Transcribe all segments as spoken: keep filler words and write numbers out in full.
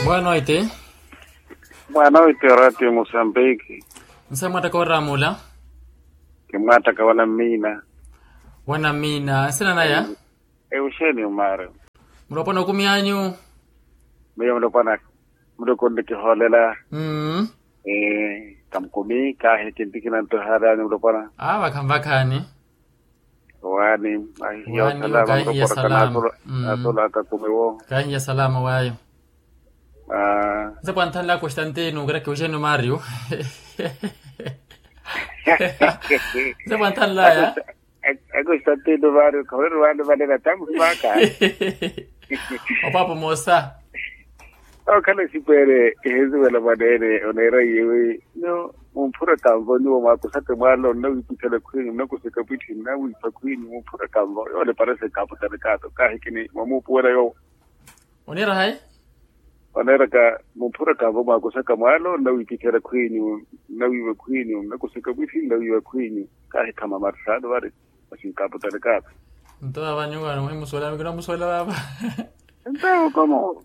Boa noite. Boa noite, Ratio Mosambiki. Nse mwattaka oraamula? Kimwattaka wanammiina. Wanammiina nsina naya? Euxenio mari. Mulopwana okumi anyu? Miyo mulopwana. Muloko nnikihoolela. Kamukumi kaahi kintikina nto ehaali anyu mulopwana. Aa vakhanvakhani. Owaani. Ahihiya osalama mulopwana. Kaatolaka kumiwo. Kaahihiya salama waayo. Nse pwanthanlaya kostantino kira kiwuxeni mario. Nse pwanthanlaya. Akostantino mario khawereriwani vanene atamuhimaka. Opapo moosa. Okhala esipeere eheziwela mwaneene oneera iyewi. Nyo mumphura kanvo nyuwo mwakusaka mwaalo nnawiipithela khwiinyu nnakuseka pwithi nnawiipha khwiinyu mumphura kanvo yoole parese kaaputani kaato kaahikini mwamuupuwela yoowo. Oniira hayi? Oneeraka mumphura kanvo mwakusaka mwaalo nnawiipithela khwiinyu nnawiiva khwiinyu nnakuseka pwithi nnawiiva khwiinyu. Kaahikhama marsaano vari. Masi nkaaputani kaato. Nto vava nyuwano muhimusuwela kinamusuwela vava. Nto kamo.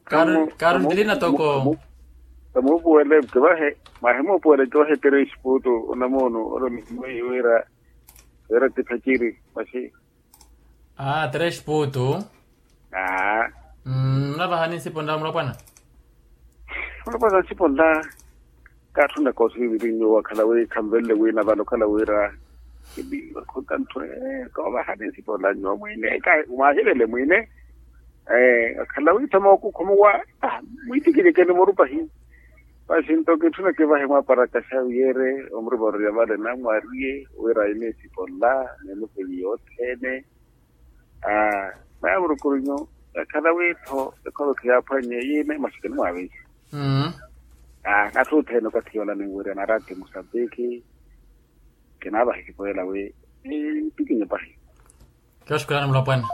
Kaaruntilina toko. Kamuupuwele kivahe. Mwahimuupuwele kivahe tere exputu onamuunu olo ni mwiiwira. Wira tiphaciri masi. Aa tere exputu. Aa. Munavahani nsipo nla mulopwana? Mulopwana nsipo nla. Kaatthuna koosiiviri nyuwo akhala wi khanvelele wiina vale okhala wira. Kiniiva khutanthu. Koovahani nsipo nla nyuwo mwiine. Mwaahilele mwiine. Akhala wi thamookukhumuwa. Mwiitikinyekeni murupahi. Masi nto kitthuna kivahe mwaparaka xaviere omurivaruya vale namwariye wira aine nsipo nla. Nenukweli yothene. Aa. Maya murukurinyu. Ekhala wi-tho ekholothi yaaphwannye yiine masi kinimwaavinya. Aa natthi othene okathi yoola ninwirya na rati musambiki. Kinaavaha ekipoyela wi. Ntikinye pahi. Kiwashukulani mulopwana.